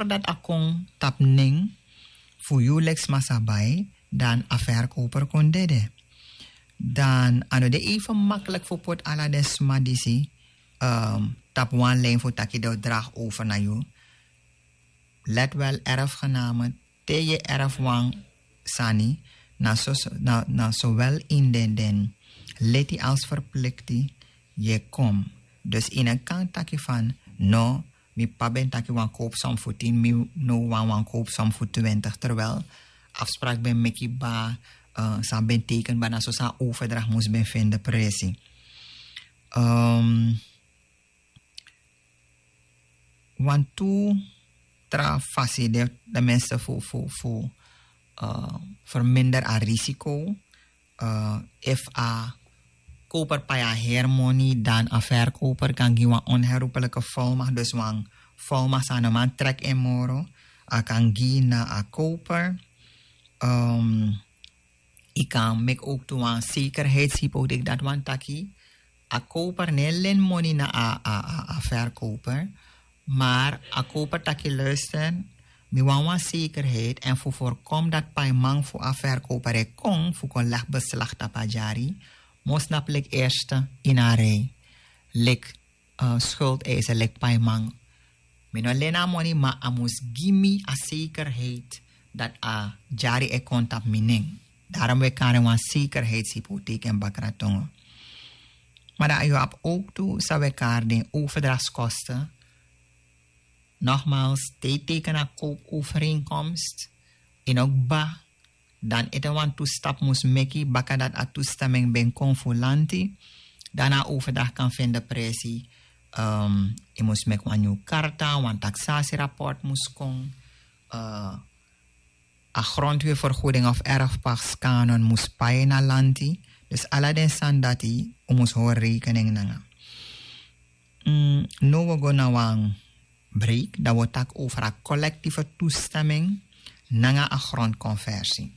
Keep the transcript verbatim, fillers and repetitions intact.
dati a kon tapu nen fu yu leki sma sa bai, dan a verkoper kon dede. Dan a no de even makkelijk fu poti ala den sma disi tapu wan lijn fu taki den o dragi over na yu. Let wel, erfgename, te yu e erf wan sani, na sowel ini den den leti als verplikti yu e kon. Dus yu no kan taki fan no, mi p'pa ben taki wan koopsom fu tin, mi no wani wan koopsom fu twintig, terwijl afsprak ben meki kba, san ben teken kba, na so san a overdracht mus ben fende presi. Wantu tra fasi de de mense fu fu fu verminder a risiko. Efu a koper pai a heri moni, dan a verkoper kan gi wan onherroepelijke volmacht, dus wan volmacht san no man trek en moro. A kan gi na a koper. Yu kan meki ook tu wan zekerheidshypotheek, dati wani taki a koper no e leni moni na a a a a verkoper. Maar a koper taki luister, mi wani wan zekerheid, èn fu voorkom dati paiman fu a verkoper e kon fu kon legi beslag tapu a dyari, mus na plek eerste ini a rij, leki schuldeiser, leki paiman. Mi no leni a moni, ma a mus gi mi a zekerheid dati a dyari e kon tapu mi nen. Daarom wi e kari en wan zekerheidshypotheek ini bakra tongo. Maar dan yu abi ook tu san wi e kari den overdrachtskosten. Nogmaals, te yu teken a koopovereenkomst, yu no kba, dan ete wan tu stap mus meki baka dati a toestemming ben kon fu lanti. Dan a overdracht kan fende presi. Yu mus meki wan nyun karta, wan taksasirapport mus kon, a grondweervergoeding of erfpakskanon mus pai na lanti. Dus ala den sani dati un mus hori rekening nanga. No wi o go na wan break, dan wi o taki over a collectieve toestemming nanga a grondconversie.